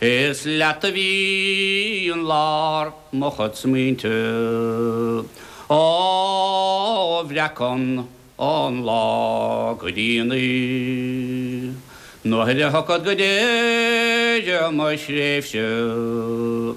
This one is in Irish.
Is leat a bhíonn lár mo chuid smaointe. Ó bhreacann an lá go dtí an oíche. Nuair a thiocfad go deireadh mo thréimhse.